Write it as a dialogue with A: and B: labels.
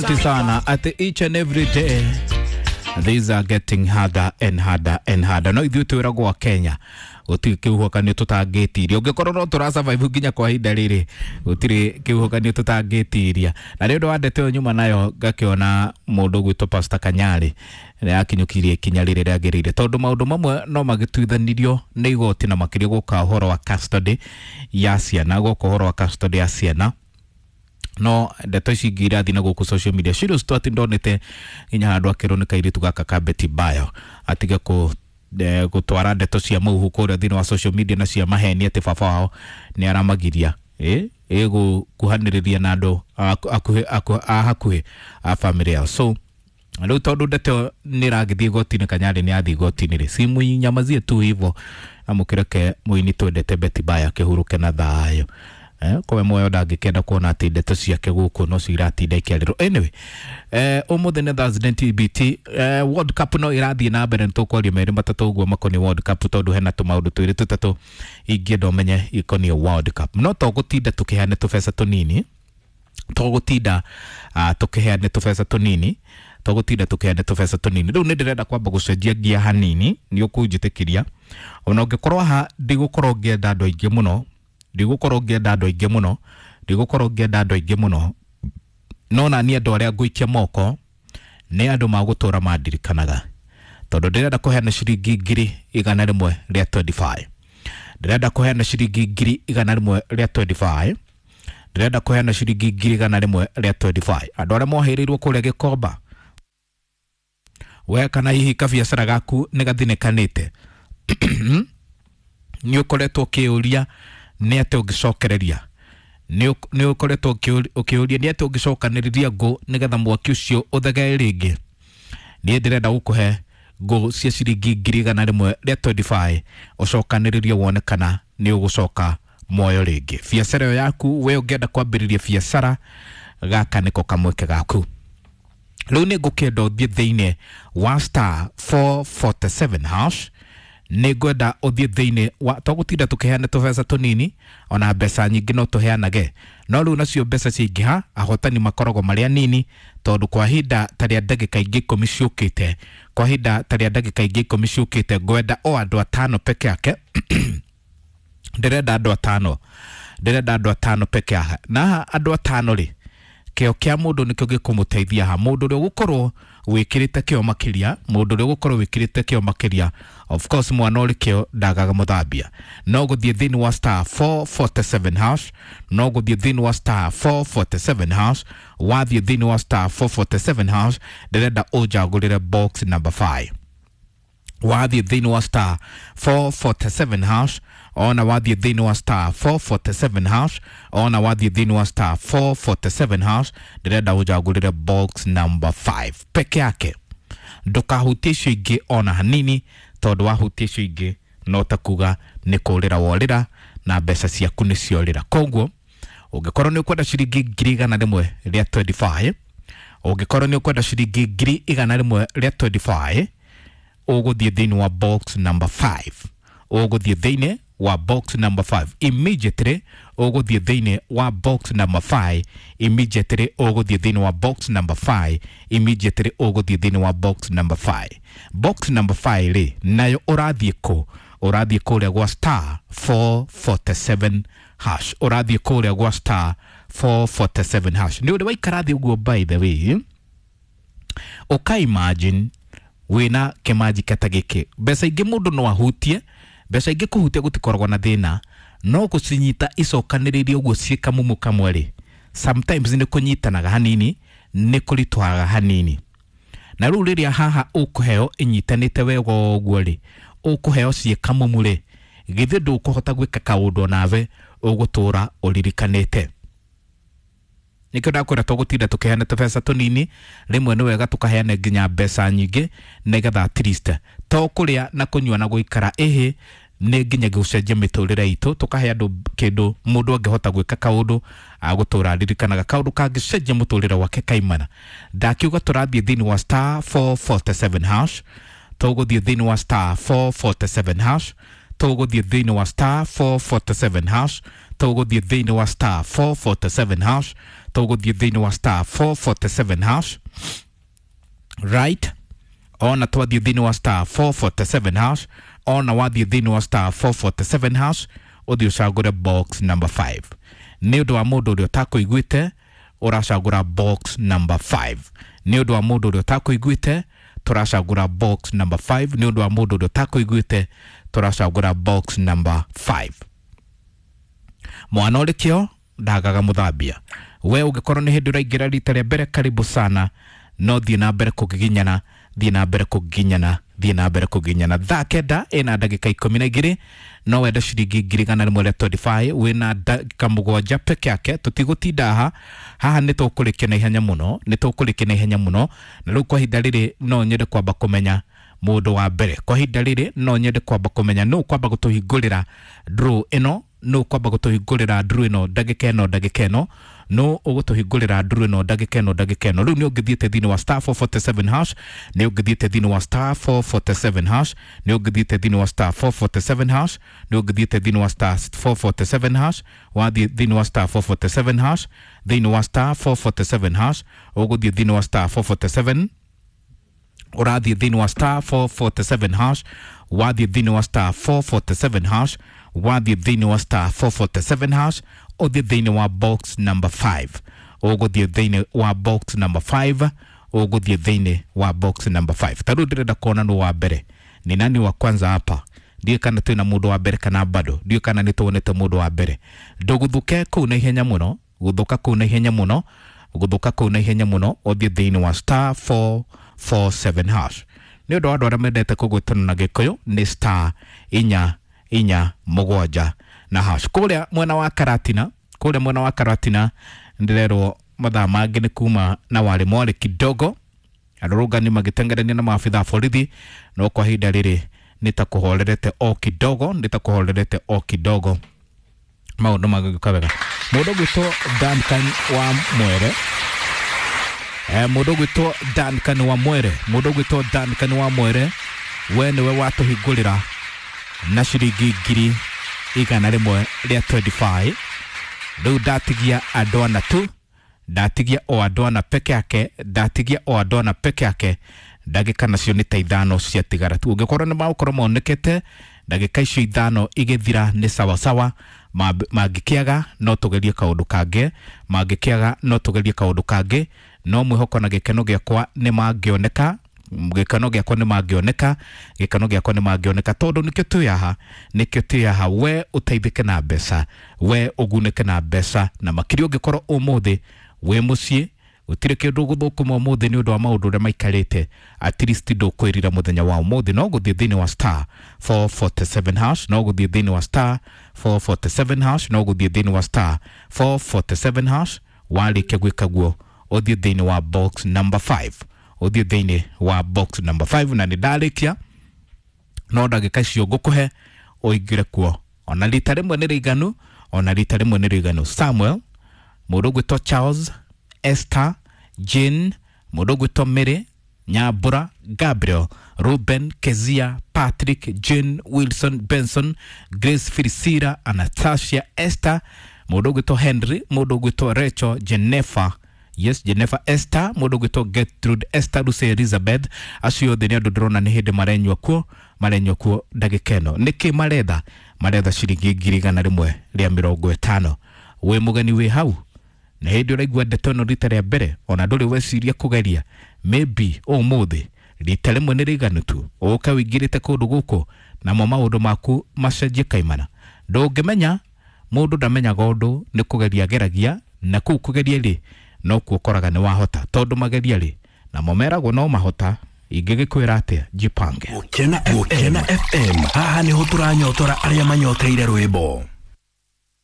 A: Sana at each and every day these are getting harder and harder and harder. No ithuĩ twĩragwo a Kenya gũtirĩ kĩhuhũkanio tũtangĩtiria. Ũngĩkorwo no tũra survive nginya kwa ihinda rĩrĩ, gũtirĩ kĩhuhũkanio tũtangĩtiria. Na nĩ ũndũ wa ndeto ĩyo nyuma nayo ngakĩona mũndũ ũgwĩtwo Pastor Kanyari nĩ akinyũkirie ikinya rĩrĩa rĩagĩrĩire, tondũ maũndũ mamwe no magĩtuithanirio nĩ igoti, na makĩria gũka ũhoro wa custody ya ciana, gũka ũhoro wa custody ya ciana. No ndeto ici ingĩ irathiĩ na gũkũ social media, Shiro tu atĩ ndonete nginya handũ akĩrwo nĩ kairĩtu gaka ka Betty Bayo atige kũ gũtwara ndeto cia mũhuhu kũrĩa thĩinĩ wa social media na cia maheni atĩ baba wao nĩ aramagiria ĩgũkuhanĩrĩria na andũ a hakuhĩ a famĩlĩ yao. So rĩu tondũ ndeto nĩ ĩragĩthiĩ igoti-inĩ, Kanyarĩ nĩ athiĩ igoti-inĩ rĩ, simuinyamazie tu hivo na mũkĩreke mũini twendete Betty Bayo akĩhurũke na thayũ. Kowe muoyo ndangĩkenda kuona atĩ ndeto ciake gũkũ no ciratinda ikĩarĩrwo. Anyway, ũmũthĩ nĩ Thursday TBT, World Cup no ĩrathiĩ na mbere. Nĩ tũkwaria merĩ matatũ ũguo makoniĩ World Cup, tondũ hena tũmaũndũ twĩrĩ tũtatũ ingĩenda ũmenye ikoniĩ World Cup. No to gũtinda tũkĩheane tũbeca tũnini, tũgũtinda tũkĩheane tũbeca tũnini, tũgũtinda tũkĩheane tũbeca tũnini. Rĩu nĩ ndĩrenda kwamba gũcenjia ngia hanini, nĩ ũkũnjĩtĩkĩria. Ona ũngĩkorwo haha ndigũkorwo ngĩenda andũ aingĩ mũno, ndigũkorwo ngĩenda andũ aingĩ mũno, ndigũkorwo ngĩenda andũ aingĩ mũno, no na niĩ andũ arĩa ngũikia moko nĩ andũ magũtũra mandirikanaga, tondũ ndĩrenda kũheana ciringi 125,000. Ndĩrenda kũheana ciringi 125,000, ndĩrenda kũheana ciringi 125,000. Andũ arĩa mohĩrĩirwo kũrĩa Gĩkomba, we kana hihi kabiacara gaku nĩ gathinĩkanĩte, nĩ ũkoretwo ũkĩũria nĩ atĩ ũngĩcokereria, nĩ ũkoretwo ũkĩũria nĩ atĩ ũngĩcokanĩrĩria ngũ nĩgetha mwaki ũcio ũthegee rĩngĩ. Niĩ ndĩrenda gũkũhe ngũ cia ciringi 125,000 ũcokanĩrĩrie wone kana nĩ ũgũcoka muoyo rĩngĩ biacara ĩyo yaku. We ũngĩenda kwambĩrĩria biacara, gaka nĩko kamweke gaku. Rĩu nĩ ngũkĩenda ũthiĩ thĩinĩ wa star 447 hash. Nĩ ngwenda ũthiĩ thĩinĩ wa, tũgũtinda tũkĩheana tũbeca tũnini, ona mbeca nyingĩ no tũheanage, no rĩu nacio mbeca ciaingĩha ahotani makoragwo marĩ anini, tondũ kwa ihinda ta rĩa ndagĩka ingĩ 10 ciũkĩte, kwa ihinda ta rĩa ndagĩka ingĩ 10 ciũkĩte, ngwenda o andũ atano peke yake. Ndĩrenda andũ atano, ndĩrenda andũ atano peke yake. Na haha andũ atano rĩ, kĩo kĩa mũndũ nĩkĩo gĩkũmũteithia ha. Mũndũ ũrĩa ũgũkorwo wĩkĩrĩte kĩo makĩria, mũndũ ũrĩa ũgũkorwo wĩkĩrĩte kĩo makĩria, of course mwana ũrĩ kĩo ndagaga mũthambia. No gũthiĩ thĩinĩ wa star 447 hash, no gũthiĩ thĩinĩ wa star 447 hash. Wathiĩ thĩinĩ wa star 447 hash, ndĩrenda ũnjagũrĩre box number 5. Wathiĩ thĩinĩ wa star 447 hash, ona wathiĩ thĩinĩ wa star 447 hash, ona wathiĩ thĩinĩ wa star 447 hash, ndĩrenda ũnjagũrĩre box number 5 peke yake. Ndũkahutie icio ingĩ ona hanini, tondũ wahutia icio ingĩ no ta kuga nĩ kũrĩra worĩra na mbeca ciaku nĩ ciorĩra. Koguo ũngĩkorwo nĩ ũkwenda ciringi 125,000, ũngĩkorwo nĩ ũkwenda ciringi 125,000, ũgũthiĩ thĩinĩ wa box number 5. Ũgũthiĩ thĩinĩ wa box number 5 immediately. Ũgũthiĩ thĩinĩ wa box number 5 immediately. Ũgũthiĩ thĩinĩ wa box number 5 immediately. Ũgũthiĩ thĩinĩ wa box number 5. Box number 5 rĩ, nayo ũrathiĩ kũ? Ũrathiĩ kũrĩa gwa star 447 hash. Ũrathiĩ kũrĩa gwa star 447 hash. Nĩ ũrĩ waikara thĩ ũguo, by the way, ũka imagine wĩna kĩmanjika ta gĩkĩ. Mbeca ingĩ mũndũ no ahutie, mbeca ingĩ kũhutia gũtikoragwo na thĩna, no gũcinyita icokanĩrĩirie ũguo ciĩ kamumu kamwe rĩ, sometimes nĩ kũnyitanaga hanini, nĩ kũritũhaga hanini. Na rĩu rĩrĩa haha ũkũheo ĩnyitanĩte wega ũguo rĩ, ũkũheo ciĩ kamumu rĩ, githĩ ndũkũhota gwĩka kaũndũ onawe ũgũtũra ũririkanĩte? Nĩkĩo ndakwĩra tũgũtinda tũkĩheana tũbeca tũnini, rĩmwe nĩ wega tũkaheana nginya mbeca nyingĩ, nĩgetha at least to kũrĩa na kũnyua na gũikara ĩhĩ, nĩ nginya gũcenjia mĩtũrĩre itũ. Tũkahe andũ kĩndũ mũndũ angĩhota gwĩka kaũndũ agũtũra aririkanaga, kaũndũ kangĩcenjia mũtũrĩre wake kaimana. Ndakiuga tũrathiĩ thĩinĩ wa star 447 hash. Tũgũthiĩ thĩinĩ wa star 447 hash. Tũgũthiĩ thĩinĩ wa star 447 hash. Tũgũthiĩ thĩinĩ wa star 447 hash. Tũgũthiĩ thĩinĩ wa star 447 hash, right? Ona twathiĩ thĩinĩ wa star 447 hash, ona wathiĩ thĩinĩ wa star 447 hash, ũthiĩ ũcagũre box number 5. Nĩ ũndũ wa mũndũ ũrĩa ũtakũiguĩte, ũracagũra box number 5. Nĩ ũndũ wa mũndũ ũrĩa ũtakũiguĩte, tũracagũra box number 5. Nĩ ũndũ wa mũndũ ũrĩa ũtakũiguĩte, tũracagũra box number 5. Mwana ũrĩ kĩo ndagaga mũthambia. We ũngĩkorwo nĩ hĩndĩ ũraingĩra rita rĩa mbere, karibu sana, no thiĩ na mbere kũgiginyana, thiĩ na mbere kũgiginyana, thiĩ na mbere kũgiginyana. Thaa 9 ĩna ndagĩka 12, no wende ciringi 125,000, wĩna ndagĩka 7 peke yake. Tũtigũtinda haha haha, nĩ tũkũrĩkia na ihenya mũno, nĩ tũkũrĩkia na ihenya mũno. Na rĩu kwa ihinda rĩrĩ no nyende kwamba kũmenya mũndũ wa mbere. Kwa ihinda rĩrĩ no nyende kwamba kũmenya nũ kwamba gũtũhingũrĩra draw ĩno, nũ kwamba gũtũhingũrĩra draw ĩno ndagĩka ĩno, ndagĩka ĩno, no ũgũtũhingũrĩra draw ĩno ndagĩka ĩno, ndagĩka ĩno. Rĩu nĩ ũngĩthiĩte thĩinĩ wa star 447 hash, nĩ ũngĩthiĩte thĩinĩ wa star 447 hash, nĩ ũngĩthiĩte thĩinĩ wa star 447 hash, nĩ ũngĩthiĩte thĩinĩ wa star 447 hash. Wathiĩ thĩinĩ wa star 447 hash, thĩinĩ wa star 447 hash, ũgũthiĩ thĩinĩ wa star 447, ũrathiĩ thĩinĩ wa star 447 hash, wathiĩ thĩinĩ wa star 447 hash, wathiĩ thĩinĩ wa star 447 hash, ũthiĩ thĩinĩ wa box number 5, ũgũthiĩ thĩinĩ wa box number 5, ũgũthiĩ thĩinĩ wa box number 5. Ta rĩu ndĩrenda kuona nũ wa mbere, ni nani wa kwanza hapa. Ndiũĩ kana twĩna mũndũ wa mbere kana bado, ndiũĩ kana nĩ tuonete mũndũ wa mbere. Ndũgũthũke kũu na ihenya mũno, gũthũka kũu na ihenya mũno, gũthũka kũu na ihenya mũno, ũthiĩ thĩinĩ wa star 447 hash. Nĩ ũndũ wa andũ arĩa mendete kũgwĩtana na Gĩkũyũ, nĩ star 4 4 7 na hash. Kũrĩa mwena wa Karatina, kũrĩa mwena wa Karatina ndĩrerwo mathaa mangĩ nĩ kuma na warĩ mwarĩ kidogo, arũrũngani magĩtengerania na maabitha a borithi, no kwa ihinda rĩrĩ nĩ ta kũhorerete o kidogo, nĩ ta kũhorerete o kidogo, maũndũ magĩũka wega. Mũndũ ũgwĩtwo Duncan wa Mwere, mũndũ ũgwĩtwo Duncan wa Mwere, mũndũ ũgwĩtwo Duncan wa Mwere, we nĩwe watũhingũrĩra na ciringi 125,000. Rĩu ndatigia andũ ana tu, ndatigia o andũ ana peke yake, ndatigia o andũ ana peke yake. Ndagĩka nacio nĩ ta 5 ciatigara tu. Ũngĩkorwo nĩ magũkorwo monekete ndagĩka icio 5 igĩthira nĩ sawasawa. Mangĩkĩaga no tũgerie kaũndũ kangĩ, mangĩkĩaga no tũgerie kaũndũ kangĩ, no mwĩhoko na gĩkeno gĩakwa nĩ mangĩoneka, gĩkeno gĩakwa nĩ mangĩoneka, gĩkeno gĩakwa nĩ mangĩoneka, tondũ nĩkĩo twĩ haha, nĩkĩo twĩ haha. We ũteithĩke na mbeca, we ũgunĩke na mbeca, na makĩria ũngĩkorwo ũmũthĩ wĩ mũciĩ gũtirĩ kĩndũ gũthũkũma ũmũthĩ nĩ ũndũ wa maũndũ ũrĩa maikarĩte, at least ndũkwĩrira mũthenya wa ũmũthĩ. No gũthiĩ thĩinĩ wa star 447 hash, no gũthiĩ thĩinĩ wa star 447 hash, no gũthiĩ thĩinĩ wa star 447 hash. Warĩkia gwĩka guo, ũthiĩ thĩinĩ wa box number 5, ũthiĩ thĩinĩ wa box number 5. Na nĩ ndarĩkia, no ndagĩka icio ngũkũhe ũingĩre kuo, ona rita rĩmwe nĩ rĩiganu, ona rita rĩmwe nĩ rĩiganu. Samuel, mũndũ ũgwĩtwo Charles, Esther, Jane, mũndũ ũgwĩtwo Mary, Nyambura, Gabriel, Ruben, Kezia, Patrick, Jane, Wilson, Benson, Grace, Filisira, Anastasia, Esther, mũndũ ũgwĩtwo Henry, mũndũ ũgwĩtwo Rachel, Jennifer, yes, Jennifer, Esther, mũndũ ũgwĩtwo Gertrude, Esther, Lucy, Elizabeth. Acio othe nĩ andũ ndĩrona nĩ hĩndĩ marenyua kuo, marenyua kuo ndagĩka ĩno. Nĩkĩ maretha? Maretha ciringi 150,000. Wĩ mũgeni wĩ hau na hĩndĩ ũraigua ndeto ĩno rita rĩa mbere, ona ndũrĩ weciria kũgeria, maybe ũmũthĩ rita rĩmwe nĩ rĩiganu tu ũke ũingĩrĩte kũndũ gũkũ namo maũndũ maku macenjie kaimana. Ndũngĩmenya, mũndũ ndamenyaga ũndũ, nĩ kũgeria ageragia, na kũu kũgeria rĩ no kuo ũkoraga nĩ wahota, tondũ mageria rĩ namo meragwo no mahota. Ingĩgĩkwĩra atĩa? Jipange.
B: Gũkena FM. Haha nĩho tũranyotora arĩa manyoteire rwĩmbo.